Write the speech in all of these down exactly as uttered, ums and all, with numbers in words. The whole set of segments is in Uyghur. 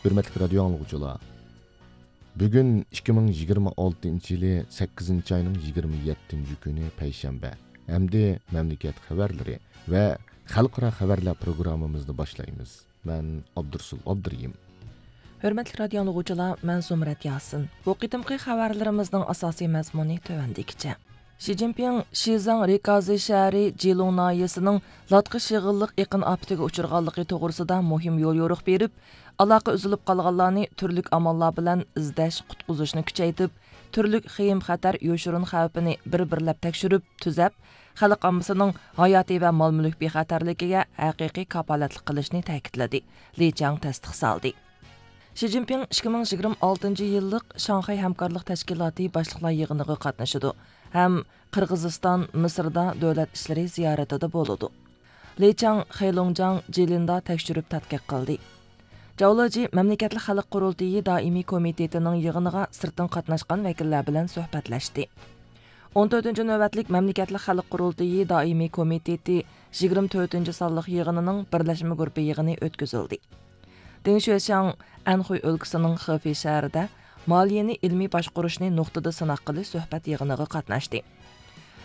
ھۆرمەتلىك رادىيو ئاڭلىغۇچىلار، بۈگۈن ئىككى مىڭ يىگىرمە ئالتىنچى يىلى سەككىزىنچى ئاينىڭ يىگىرمە يەتتىنچى كۈنى پەيشەنبە. ئەمدى مەملىكەت خەۋەرلىرى ۋە خەلقئارا خەۋەرلەر پروگراممىمىزنى باشلايمىز. مەن ئابدۇرسۇل ئابدۇرېھىم. ھۆرمەتلىك رادىيو ئاڭلىغۇچىلار، مەن زۇمرەت ياسىن. بۇ قېتىمقى خەۋەرلىرىمىزنىڭ ئاساسىي مەزمۇنى تۆۋەندىكىچە. شى جىنپىڭ شىزاڭ رىكازى شەھىرى جىلۇڭ ناھىيەسىنىڭ لاتقا شېغىللىق ئېقىن ئاپىتىگە ئۇچرىغانلىقى توغرىسىدا مۇھىم يوليورۇق بېرىپ، ئالاقە ئۈزۈلۈپ قالغانلارنى تۈرلۈك ئاماللار بىلەن ئىزدەش، قۇتقۇزۇشنى كۈچەيتىپ، تۈرلۈك خېيىم-خەتەر، يوشۇرۇن خەۋپىنى بىر-بىرلەپ تەكشۈرۈپ، تۈزەپ، خەلق ئاممىسىنىڭ ھاياتىي ۋە مال-مۈلۈك بىخەتەرلىكىگە ھەقىقىي كاپالەتلىك قىلىشنى تەكىتلىدى، لى چاڭ تەستىقلىدى. شى جىنپىڭ ئىككى مىڭ يىگىرمە ئالتىنچى يىللىق شاڭخەي ھەمكارلىق تەشكىلاتى باشلىقلار يىغىنىغا قاتنىشىدۇ ھەم قىرغىزىستان، مىسىردا دۆلەت ئىشلىرى زىيارىتىدە بولىدۇ. لى چاڭ خېيلۇڭجاڭ جىلىندا تەكشۈرۈپ تەتقىق قىلدى. جاۋ لېجى مەملىكەتلىك خەلق قۇرۇلتىيى دائىمىي كومىتېتىنىڭ يىغىنىغا سىرتتىن قاتناشقان ۋەكىللەر بىلەن سۆھبەتلەشتى. ئون تۆتىنچى نۆۋەتلىك مەملىكەتلىك خەلق قۇرۇلتىيى دائىمىي كومىتېتى يىگىرمە تۆتىنچى سانلىق يىغىنىنىڭ بىرلەشمە گۇرۇپپا يىغىنى ئۆتكۈزۈلدى. دېڭ شۆشياڭ ئەنخۇي ئۆلكىسىنىڭ خېفېي شەھىرىدە مالىيەنى ئىلمىي باشقۇرۇشنى نۇقتىدا سىناق قىلىش سۆھبەت يىغىنىغا قاتناشتى.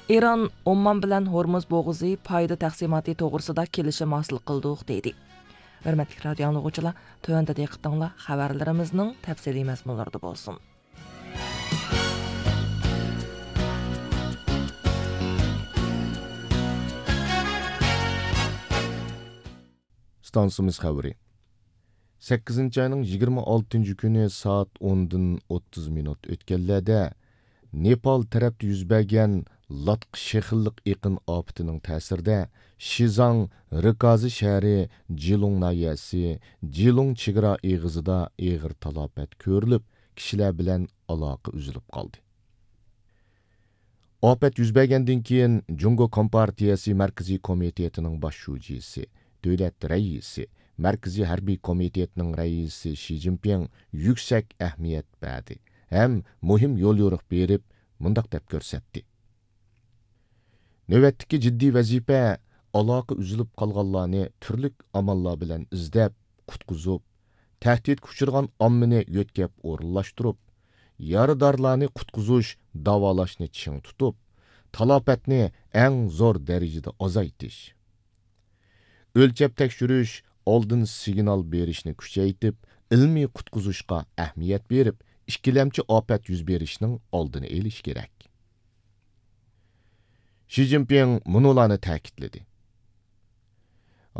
ئىران ئوممان بىلەن ھورمۇز بوغۇزى پايدا تەقسىماتى توغرىسىدا كېلىشىم ھاسىل قىلدۇق، دېدى. ھۆرمەتلىك رادىيو ئاڭلىغۇچىلار، تۆۋەندە دىققىتىڭلار خەۋەرلىرىمىزنىڭ تەپسىلىي مەزمۇنلىرىدا بولسۇن. ئىستانسىمىز خەۋىرى. سەككىزىنچى ئاينىڭ يىگىرمە ئالتىنچى كۈنى سائەت ئوندىن ئوتتۇز مىنۇت ئۆتكەنلەردە نېپال تەرەپتە يۈز بەرگەن لاتقا شېخىللىق ئېقىن ئاپىتىنىڭ تەسىرىدە شىزاڭ رىكازى شەھىرى جىلۇڭ ناھىيەسى جىلۇڭ چېگرا ئېغىزىدا ئېغىر تالاپەت كۆرۈلۈپ، كىشىلەر بىلەن ئالاقە ئۈزۈلۈپ قالدى. ئاپەت يۈز بەرگەندىن كېيىن، جۇڭگو كومپارتىيەسى مەركىزىي كومىتېتىنىڭ باش شۇجىسى، دۆلەت رەئىسى، مەركىزىي ھەربىي كومىتېتنىڭ رەئىسى شى جىنپىڭ يۈكسەك ئەھمىيەت بەردى ھەم مۇھىم يوليورۇق بېرىپ، مۇنداق دەپ كۆرسەتتى: نۆۋەتتىكى جىددىي ۋەزىپە ئالاقە ئۈزۈلۈپ قالغانلارنى تۈرلۈك ئاماللار بىلەن ئىزدەپ، قۇتقۇزۇپ، تەھدىتكە ئۇچرىغان ئاممىنى يۆتكەپ ئورۇنلاشتۇرۇپ، يارىدارلارنى قۇتقۇزۇش، داۋالاشنى چىڭ تۇتۇپ، تالاپەتنى ئەڭ زور دەرىجىدە ئازايتىش. ئۆلچەپ تەكشۈرۈش، ئالدىن سىگنال بېرىشنى كۈچەيتىپ، ئىلمىي قۇتقۇزۇشقا ئەھمىيەت بېرىپ، ئىككىلەمچى ئاپەت يۈز بېرىشنىڭ ئالدىنى ئېلىش كېرەك. شى جىنپىڭ مۇنۇلارنى تەكىتلىدى: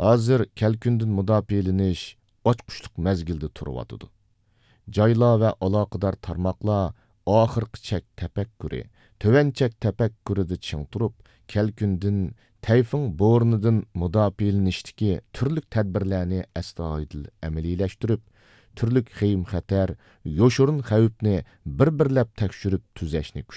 ھازىر كەلكۈندىن مۇداپىئەلىنىش ئاچقۇچلۇق مەزگىلدە تۇرۇۋاتىدۇ. جايلار ۋە ئالاقىدار تارماقلار ئاخىرقى چەك تەپەككۇرى، تۆۋەن چەك تەپەككۇرىدا چىڭ تۇرۇپ، كەلكۈندىن، تەيفۇڭ بورىنىدىن مۇداپىئەلىنىشتىكى تۈرلۈك تەدبىرلەرنى ئەستايىدىل ئەمەلىيلەشتۈرۈپ، تۈرلۈك خېيىم-خەتەر، يوشۇرۇن خەۋپنى بىر-بىرلەپ تەكشۈرۈپ تۈزەشنى